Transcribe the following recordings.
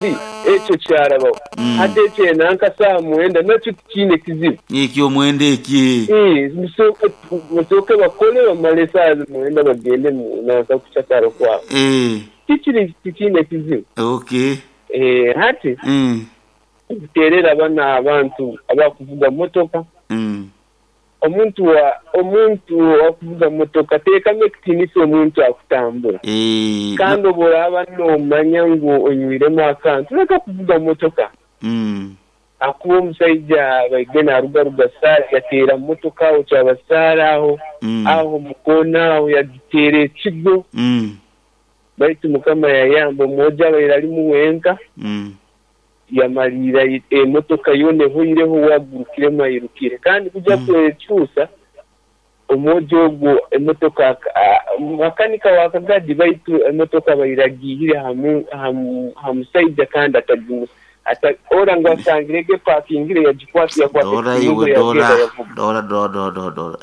Ekyo kyarabaho. Hati eky'enanka saaha mwenda nakyo tikiine kizibu. Eky'omwenda eki. Ii, Musooke bakole bamale esaaha mwenda bagende mu nanka kucakara kwabo. Tikiri tikiine kizibu. Hati nkuteerera banu abantu abakuvuga motoka. Omuntu wa omuntu owakuvuga motoka teekamu ekitiinisa omuntu akutambura. Kandi obu oraaba noomanya ngu onywiremu akantu, leka kuvuga motoka. Ahakuba omusaija abaire naarugaruga Saara yateera motoka aho Kyabasaara aho, aho omu koona aho yagiteera ekigo. Baitu Mukama yayamba omwojo abaire alimu wenka. Yamaliira emotoka yoona ehoireho we agurukiremu airukire. Kandi kuja kwekyusa, omwojo ogwo emotoka makanika wa kagadi baitu emotoka abaire agiihire ha musaija kandi ora ngu asangire egi epakingire yagikwata yakwata Dora ekifunguzo iwe yagenda dora yavuga. dora dora dora dora dora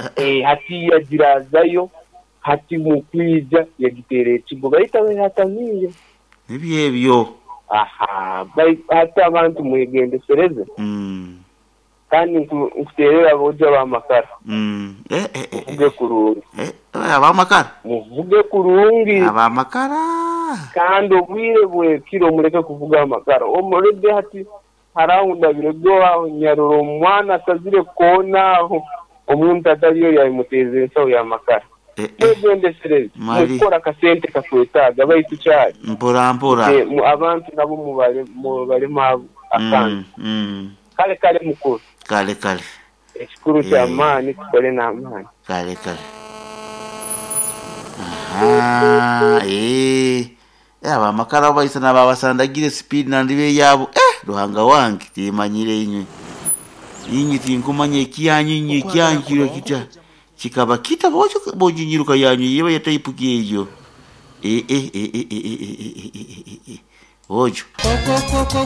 Hati yagiraazayo hati mukwija yagiteera ekigo baitu abaire atamiire. Nibyo ebyo. Aha, baitu hati abantu mwegendesereze. Kandi nkuterera aboojo ab'amakara. Muvuge kurungi. Ab'amakara? Muvuge kurungi. Ab'amakara. Kandi obwire bw'ekiro muleke kuvuga amakara. Omurege hati haraho ahu ndabirege aho nyarora omwana asazire koona aho omuntu atali ori aimuteeza ensaho y'amakara. Mwegendesereze. Mukukora akasente kakwetaaga baitu kyali. Mpora mpora. Abantu nabo mubalemu akantu. Kale kale mukuru. Kale kale. Ekikuru ky'amaani tukole n'amaani. Kale kale. Aha, eh. Abamakara baisana babasandagire speed nandibe yabo. Ruhanga wange timanyire inywe. Inywe tinkumanya ekyanyu inywe ekyanyu kiro kita. Kikaba kita bojo bojinyiruka yanyu yeba yataipuki eyo. Eh eh eh eh eh eh eh eh. Bojo.